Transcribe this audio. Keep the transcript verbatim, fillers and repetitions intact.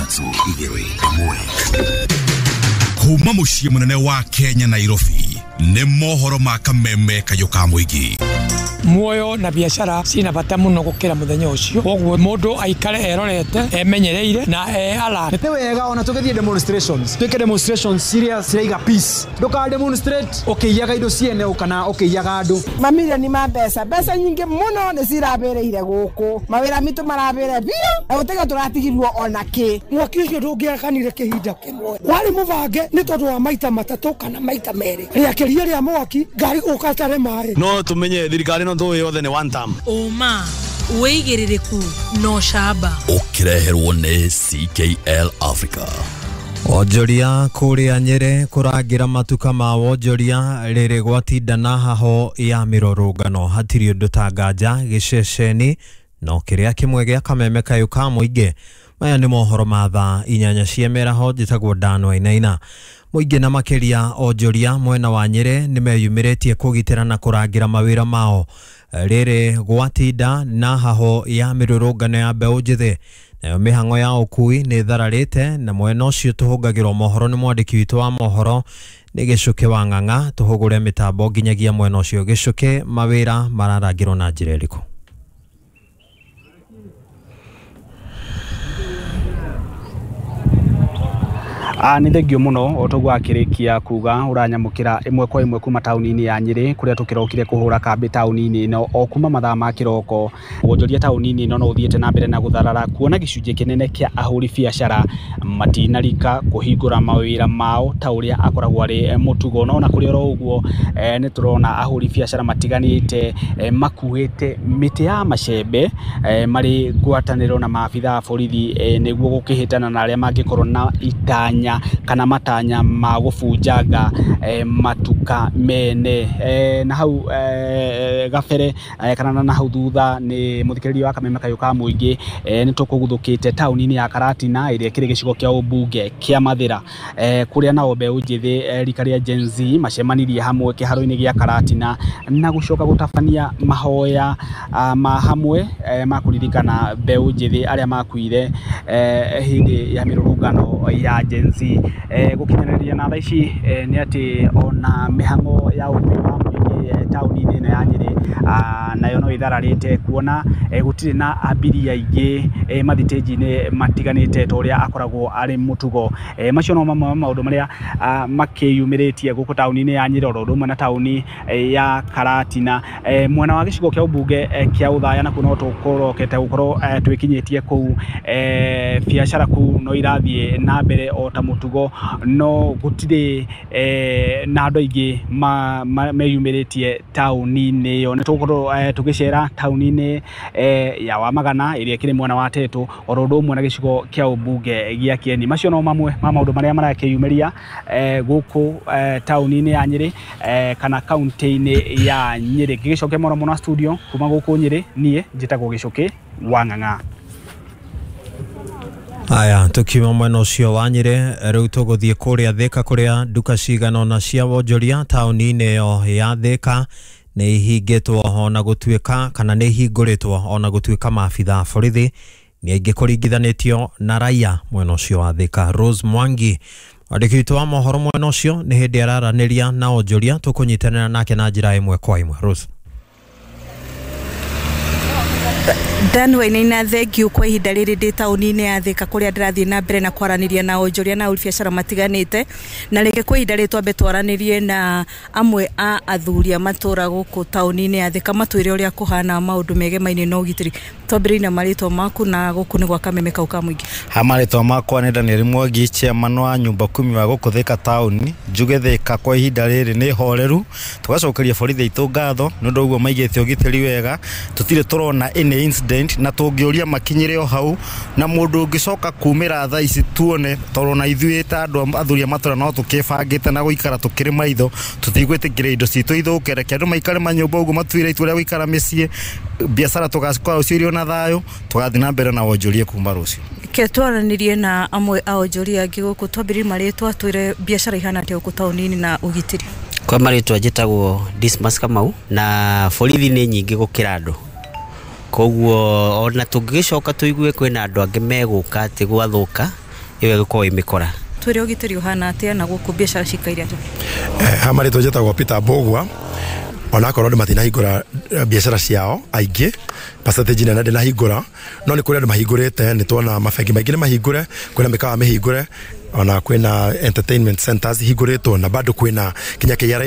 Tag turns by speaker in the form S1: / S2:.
S1: Ithatũ, igĩrĩ, ĩmwe. Kuma mũciĩ mũnene wa Kenya, Nairobi, nĩ mohoro ma Kameme Kayũ ka Mũingĩ.
S2: Muoyo na biacara cina bata muno gukira muthenya ucio, koguo mundu aikare erorete, emenyereire na e alert.
S3: Nĩ wega ona tũgĩthiĩ demonstrations, twĩke demonstrations ciria ciraiga peace. Ndũka demonstrate ũkĩiyaga indo ciene kana ũkĩiyaga andũ.
S4: Mamirioni ma mbeca, mbeca nyingĩ mũno nĩ cirabĩrĩire gũkũ, mawĩra mitũ marabĩre biũ na gũtiga tũratigirwo ona kĩ.
S5: Mwaki ũcio ndũngĩakanire kĩhinda kĩmwe, warĩ mũbange nĩ tondũ wa maita matatũ kana maita merĩ rĩakĩria rĩa mwaki ngari gũka tare maĩ.
S6: No tumenye thirikari no tũĩ yothe nĩ one term.
S7: Ũma, wĩigĩrĩrĩku na ũcamba.
S1: Ũkĩreherwo nĩ C K L Africa.
S8: Onjoria kũrĩa Nyĩrĩ kũrangĩra matuka ma wonjoria rĩrĩ gwatinda na haho ya mĩrũrũngano. Hatirĩ ũndũ ta nganja gĩceceni no kĩrĩa kĩmwe gĩa Kameme Kayũ ka Mũingĩ. Maya nĩ mohoro ma thaa inyanya cia mĩaraho. Njĩtagwo Dan Wainaina. Mũingĩ na makĩria onjoria mwena wa Nyĩrĩ nĩ meyumĩrĩtie kũgitĩra na kũrangĩra mawĩra mao rĩrĩ gwatinda na haho ya mĩrũrũngano ya mbeũ njĩthĩ. Nayo mĩhang'o ya ũkui nĩ ĩthararĩte, na mwena ũcio tũhũngagĩrwo mohoro nĩ mwandĩki witũ wa mohoro nĩ Gĩcũkĩ wa Ng'ang'a. Tũhũgũre mĩtambo nginyagia mwena ũcio. Gĩcũkĩ, mawĩra mararangĩrwo na njĩra ĩrĩkũ?
S9: Ah, nĩ thengio mũno. O toguo akĩrĩkia kuga, ũranyamũkĩra ĩmwe kwa ĩmwe kuma taũni-inĩ ya Nyĩrĩ, kũrĩa tũkĩrokire kũhũra kambĩ taũni-inĩ ĩno o kuma mathaa ma kĩroko. Wonjoria taũni-inĩ ĩno no ũthiĩte na mbere na gũtharara, kuona gĩcunjĩ kĩnene kĩa ahũri biacara matinarika kũhingũra mawĩra mao ta ũrĩa akoragwo arĩ mũtugo. No ona kũrĩ oro ũguo, eh, nĩ tũrona ahũri biacara matiganĩte eh, makuĩte mĩtĩ ya macembe eh, marĩ ngwatanĩro na maabitha a borithi eh, nĩguo gũkĩhĩtana na arĩa mangĩkorwo na itanya kana matanya ma gũbunjanga eh, matuka mene. eh, na hau eh, gabere eh, kana na hau thutha nĩ mũthikĩrĩria wa Kameme Kayũ ka Mũingĩ, eh, nĩ tũkũguthũkĩte taũni-inĩ ya Karatina ĩrĩa ĩkĩrĩ gĩcigo kĩa ũmbunge kĩa Mathĩra, eh, kũrĩa nao mbeũ njĩthĩ eh, rika rĩa Gen Z macemanirie hamwe kĩharo-inĩ gĩa Karatina na gũcoka gũtabania mahoya ah, ma hamwe eh, ma kũririkana mbeũ njĩthĩ arĩa makuire eh, hĩndĩ ya mĩrũrũngano ya Gen Z. eh, gũkinyanĩria na thaa ici eh, nĩ atĩ ona mĩhang'o ya ũkui wa mũingĩ eh, taũni-inĩ ĩno ya Nyĩrĩ ah, nayo no ĩthararĩte, kuona eh, gũtirĩ na abiria aingĩ eh, mathitĩnji-inĩ matiganĩte ta ũrĩa akoragwo arĩ mũtugo. eh, macio no mamwe ma maũndũ marĩa ah, makĩyumĩrĩtie gũkũ taũni-inĩ ya Nyĩrĩ, oro ũndũ ũmwe na taũni eh, ya Karatina. eh, mwena wa gĩcigo kĩa ũmbunge eh, kĩa Ũthaya nakuo no tũkorokete gũkorwo eh, twĩkinyĩtie kũu. eh, biacara kũu no irathiĩ na mbere o ta mũtugo, no gũtirĩ eh, na andũ aingĩ ma- ma- meyumĩrĩtie taũni-inĩ ĩyo. Nĩ tũgũkorwo eh, tũgĩcera taũni-inĩ eh, ya Wamagana ĩrĩa ĩkĩrĩ mwena wa Tetu, oro ũndũ ũmwe na gĩcigo kĩa ũmbunge gĩa Kieni. Macio no mamwe ma maũndũ marĩa marakĩyumĩria eh, gũkũ eh, taũni-inĩ ya Nyĩrĩ eh, kana kaunti-inĩ ya Nyĩrĩ. Ngĩgĩcokia mũno mũno studio kuma gũkũ Nyĩrĩ, niĩ njĩtagwo Gĩcũkĩ wa Ng'ang'a.
S8: Aya, tukiuma mwena ũcio wa Nyĩrĩ, rĩu tũgũthiĩ kũrĩa Thĩka, kũrĩa nduka cigana ũna cia wonjoria taũni-inĩ ĩyo ya Thĩka nĩ ihingĩtwo ona gũtuĩka, kana nĩ ihingũrĩtwo ona gũtuĩka maabitha a borithi nĩ aingĩ kũringithanĩtio na raia mwena ũcio wa Thĩka. Rose Mwangi, mwandĩki witũ wa mohoro mwena ũcio, nĩ hĩndĩ araranĩria na onjoria. Tũkũnyitanĩra nake na njĩra ĩmwe kwa ĩmwe. Rose.
S10: Dan Wainaina, thengiũ. Kwa ihinda rĩrĩ ndĩ taũni-inĩ ya Thĩka, kũrĩa ndĩrathiĩ na mbere na kwaranĩria na onjoria na ahũri biacara matiganĩte. Na rĩngĩ kwa ihinda rĩrĩ twambe twaranĩrie na amwe a athuri a matũra gũkũ taũni-inĩ ya Thĩka, matwĩre ũrĩa kũhana maũndũ megemaine na ũgitĩri. Twambĩrĩrie na marĩtwa maku, na gũkũ nĩ gwa Kameme kau ka Mũingĩ.
S11: Ha, marĩtwa makwa nĩ Daniel Mwangi, chairman wa nyumba kumi wa gũkũ Thĩka taũni. Njuge Thĩka kwa ihinda rĩrĩ nĩ horeru. Tũgacokeria borithi aitũ ngatho nĩ ũndũ ũguo maigĩte ũgitĩri wega. Tũtirĩ tũrona any incident, na tũngĩũria makinyĩre o hau na mũndũ ũngĩcoka kumĩra thaa ici tuone, tondũ na ithuĩ ta andũ athuri a matũra no tũkĩbangĩte na gũikara tũkĩrĩ maitho. Tũtigwĩtĩkĩra indo citũ ithũke. Reke andũ maikare manyũmba ũguo matuire itua rĩa gũikara mĩciĩ. Biacara tũgakorwo ciĩrĩ na thayũ, tũgathiĩ na mbere na wonjoria kuma rũciũ.
S10: Ke twaranĩrie na amwe a onjoria angĩ gũkũ. Twambĩrĩrie marĩtwa, twĩre biacara ihana atĩa gũkũ taũni-inĩ na ũgitĩri.
S12: Kwa marĩtwa njĩtagwo Dismas Kamau, na borithi nĩ nyingĩ gũkĩra andũ, koguo ona tũngĩgĩcoka tũigue kwĩna andũ angĩ megũka atĩ gwathũka. Ĩyo ĩgũkorwo ĩmĩkora.
S10: Twĩre ũgitĩri ũhana atĩa na gũkũ biacara cikaire atĩa?
S13: Eh, ha marĩtwa njĩtagwo Peter Mbũgua. Onakorwo andũ matinahingũra eh, biacara ciao aingĩ, percentage nene ndĩnahingũra, no nĩ kũrĩ andũ mahingũrĩte. Nĩ tuona mabengi maingĩ nĩ mahingũre, kwĩna mĩkawa mĩhingũre, ona kwĩna entertainment centers ihingũrĩtwo, na bado kwĩna kinya K R A.